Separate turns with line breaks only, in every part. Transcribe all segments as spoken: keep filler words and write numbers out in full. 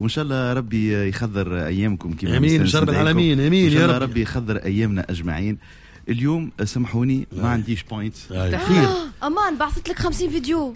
وان شاء الله ربي يخضر ايامكم كما
امين يا رب العالمين، امين
ان شاء
يا
الله
رب.
ربي يخضر ايامنا اجمعين. اليوم سامحوني ما عنديش points.
خير.
امان بعثت لك خمسين فيديو.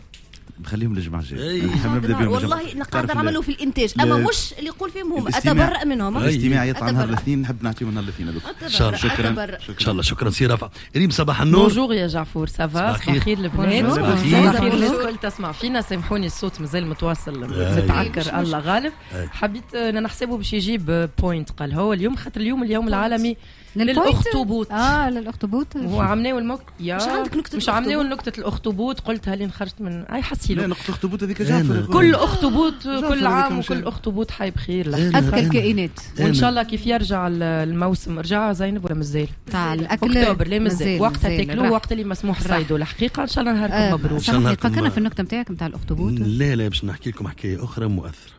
نخليهم للجمعة الجاية.
أي.
نحب نبدا بهم
والله
الجمعة.
قاعد
تعرف
نعملوا في الانتاج، اما
لا.
مش اللي يقول فيهم هم
الاستماع.
اتبرأ منهم.
الاستماع يطلع نهار
أتبرأ.
الاثنين، نحب نعطيهم نهار الاثنين هذوك.
ان شاء الله.
شكرا.
أتبرأ.
ان شاء الله، شكرا سي رافع. ريم صباح النور.
bonjour يا جعفور، ça va؟
صباح
صباح
الخير.
الخير البنات.
صباح الخير.
صباح الخير الناس الكل تسمع فينا. سامحوني الصوت مازال متواصل
أي.
متعكر، الله غالب.
أي.
حبيت انا نحسبه باش يجيب point، قال هو اليوم خاطر اليوم اليوم العالمي
لل point؟
للاخطبوط.
اه للاخطبوط.
هو عملناو المك يا
مش عندك نكتة
مش عملناو نكتة الاخطبوط؟ قلتها لين خرجت من اي
لا
حسيلو.
نقطة الاخطبوط هذيك
أنا.
جعفر.
كل اخطبوط
جعفر
كل
هذيك
عام
مش
وكل اخطبوط حي بخير.
أنا-
اذكى
أنا-
الكائنات.
وان شاء الله كيف يرجع الموسم، رجع زينب ولا مازال؟
تاع الاكل.
اكتوبر لا مازال، وقتها
مازال.
تاكلوه
راح.
وقت اللي مسموح
راح.
صيدوا الحقيقه. ان شاء الله نهاركم
آه،
مبروك.
إن شاء الله
سامحني،
نهاركم
فكرنا في النكتة نتاعك نتاع الاخطبوط.
لا لا، باش نحكي لكم حكاية اخرى مؤثرة،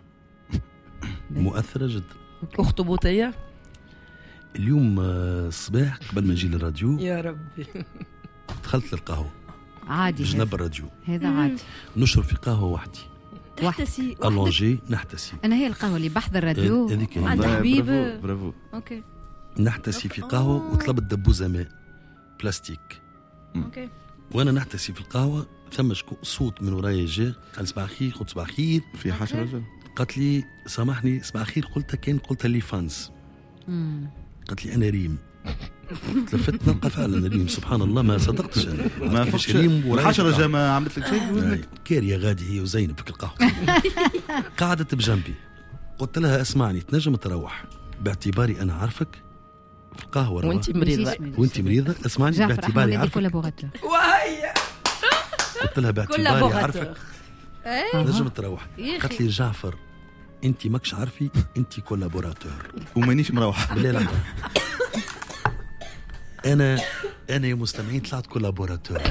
مؤثرة جدا.
اخطبوطيه.
اليوم آه، الصباح قبل ما نجي للراديو
يا ربي.
دخلت للقهوة
عادي هذا.
بجنب الراديو.
هذا عادي.
نشرب في قهوة وحدي.
تحتسي وحدك.
allongé نحتسي.
انا هي القهوة اللي بحذا الراديو.
هذيك هي.
عند
والله
حبيب.
برافو برافو.
OK.
نحتسي في قهوة وطلبت دبوزه ماء بلاستيك.
OK.
وانا نحتسي في القهوة ثم شكو صوت من ورايا جا قال صباح الخير، قلت صباح الخير.
في حشرة رجل.
قالت لي سامحني صباح الخير، قلتها كان قلتها les fans.
مم.
قالت لي انا ريم. تلفت نلقى فعلا ريم، سبحان الله ما صدقتش انا.
ما
كيفاش
فقش
ريم ورايا
الحشرة
في
جا ما عملت لك شيء
القهوة.
وذنك.
كارية غادي هي وزينب في القهوة. قعدت بجنبي، قلت لها اسمعني تنجم تروح باعتباري انا عارفك في القهوة
وانت مريضه.
ماشيش مريضة.
وانت مريضه، اسمعني
جعفر
باعتباري
احنا
عارفك.
collaborateurs.
وهي
قلت لها باعتباري عارفك
إيه.
تنجم تروح.
يا
قالت
أخي.
لي جعفر انت ماكش عارفي انت collaborateur.
ومانيش مروح.
بالله لحظة، انا انا يا مستمعين طلعت collaborateur.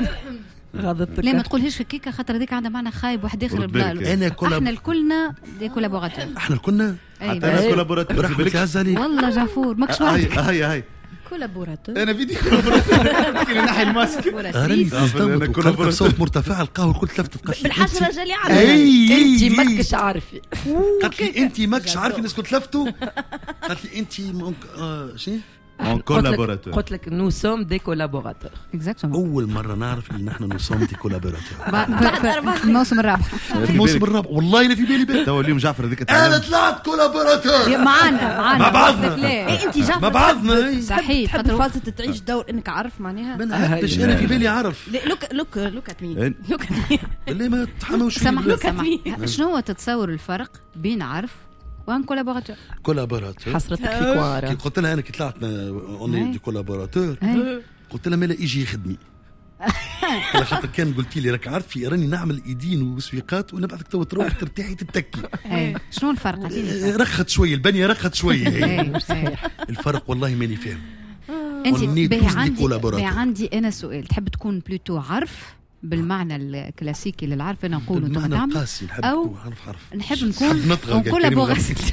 غاضتك.
لا ما تقولهاش هكاكا خاطر هذيك عندها معنى خايب واحد اخر.
رد بالك.
انا collab
احنا الكلنا des collaborateurs.
احنا الكلنا.
أي
حتى انا collaborateur في
برحمة
بالك.
عز عليك.
والله جعفور ماكش
هاي
وحدك.
هاي هاي.
collaborateur.
انا فيدي collaborateur كي نحي الماسك.
راني
collaboratrice.
أنا
صدمت وقلت
collaborateur.
بصوت مرتفع القهوة الكل تلفتت قالت لي
بالحشره
أنت-
جالي عندك.
اي
انت
اي
ماكش عارفه.
قالت لي انت ماكش عارفه الناس كنت تلفتوا. قالت لي انت mon آه شنو
mon collaborateur.
قلت لك nous sommes des collaborateurs.
exactement.
اول مرة نعرف ان نحن nous sommes des collaborateurs.
الموسم الرابع.
في الموسم الرابع والله لا في بالي بالي.
تو اليوم جعفر هذيك
انا
تعلم.
طلعت collaborateur.
معانا معانا.
مع بعضنا.
لا.
إيه انت جعفر
مع بعضنا إيه.
صحيح
تحب
خاطر
فازة تعيش دور انك عارف معناها.
ما نحبش انا في بالي عرف.
look look look at me.
إيه.
look at me.
بالله ما تحملوش فيه
سامحني
بالله.
سامحني، شنو هو تتصور الفرق بين عرف و un collaborateur؟
collaborateur.
حسرتك في
كي
كوارا.
قلت لها انا كي طلعت on est des collaborateurs، قلت لها مالا يجي يخدمي. قلت لها خاطر كان قلتي لي راك عارفي راني نعمل ايدين وسويقات ونبعثك تو تروح ترتاحي تتكي.
أي. شنو الفرق؟ عطيني الفرق.
رخت شوية البنية، رخت شوية هي.
أي، صحيح.
الفرق والله ماني فاهم.
انت
On est
باهي
tous des
عندي
collaborateurs.
باهي عندي انا سؤال، تحب تكون plutôt عرف بالمعنى الكلاسيكي للعرف انا نقول وانتم
بالمعنى
تعملوا
القاسي نحب
أو
نكون عرف عرف.
نحب نكون
نطغى
en collaboration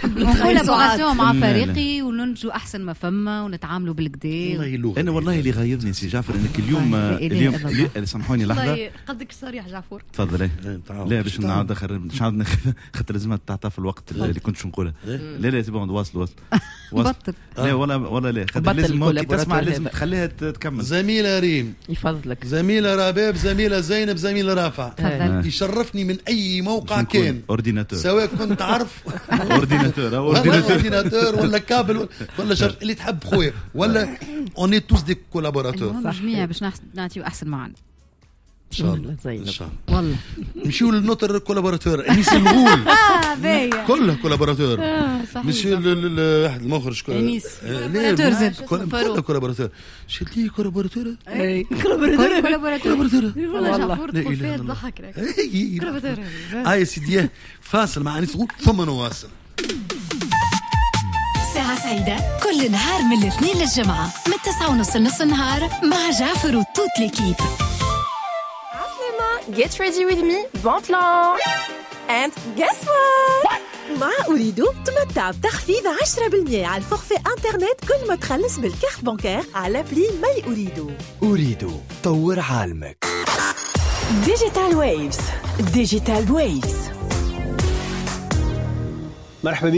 مع
لا، لا.
فريقي وننجو احسن ما فما ونتعاملوا بالكدا.
والله لغة.
انا والله اللي غيظني سي جعفر انك اليوم
لا إله
اليوم
إلا الله.
اليوم- سامحوني لحظة.
والله قدك صريح جعفور.
تفضل إيه.
إيه، تعال.
لا باش نعاود اخر باش نعاود نخ- خاطر لازم تعطى في الوقت اللي كنت نقولها. لا لا c'est bon، واصل واصل واصل.
بطل.
لا ولا ولا لا خاطر
بطل
لازم كي
ال collaborateur
تسمع لازم
هذا.
تخليها ت- تكمل.
زميلة ريم،
يفضلك.
زميلة رباب، زميلة زينب، زميلة رافع.
تفضل.
يشرفني من اي موقع
باش نكون
كان
ordinateur.
سواء كنت عارف
ordinateur
ولا
ordinateur.
ordinateur ولا كابل ولا شر اللي تحب خويا، ولا on est tous des collaborateurs.
المهم جميع باش نحس- نعطيو احسن معنا.
ان شاء الله
زينب.
ان شاء الله.
والله
نمشيو ل notre collaborateur انيس الغول.
اه باهي.
كله collaborateur.
صحيح.
مش واحد المخرج كو-
أنيس.
آه، لا
collaborateur زاد.
كل- كله collaborateur. شد لي collaborateur.
إيه.
كل collaborateur.
collaborateur.
والله جعفور
لا
تقول
إله
فيها
إلا الله.
تضحك لك.
إيه.
collaborateur.
اه يا سيدي، فاصل مع انيس الغول ثم نواصل.
ساعة سعيدة كل نهار من الاثنين للجمعة من التسعة ونص لنص النهار مع جعفر و toute l'équipe.
Get ready with me, bon plan. And guess what?
مع أوريدو تمتع بتخفيض عشرة بالمية على ال forfait internet كل ما تخلص بال carte bancaire على appli My Ooredoo.
أوريدو طور عالمك.
Digital Waves، Digital Waves.
مرحبا.